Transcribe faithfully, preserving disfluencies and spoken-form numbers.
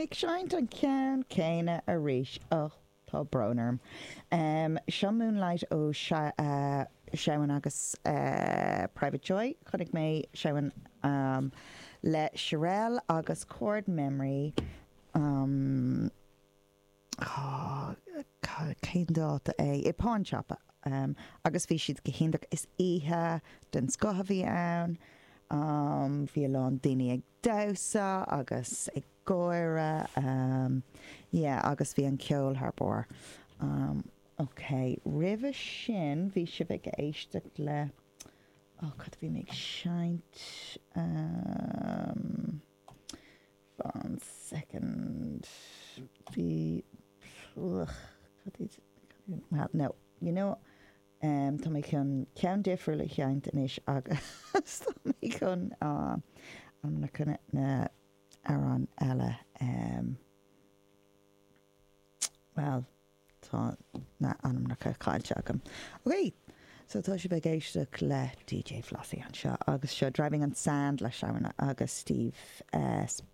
mé ag seinnt an ceann céanna arís. Oh, tá brón orm. Um, seo Moonlight ó uh, Sean agus uh, Private Joy. Chonaic mé Sean um, le Sherelle agus Chord Memory. Um, oh, cén dáta é i Pawn Shop um, agus bhí siad go hiontach is oíche den scoth a bhí ann. Um, bhí a lán daoine ag damhsa agus ag gáire um, yeah, agus bhí an ceol thar barr. Um, ok, roimhe sin bhí sibh ag éisteacht le oh, cad bhí mé ag seinnt um, one second bhí ugh, cad iad- well, no, you know um, tá mé chun ceann difriúil a sheinnt anois agus tá mé chun uh, na chun na amhráin eile um, well tá na ainmneacha caillte agam. Ok, so tá sibh ag éisteacht le DJ Flossie anseo agus seo Driving on Sand le Sean agus Steve uh,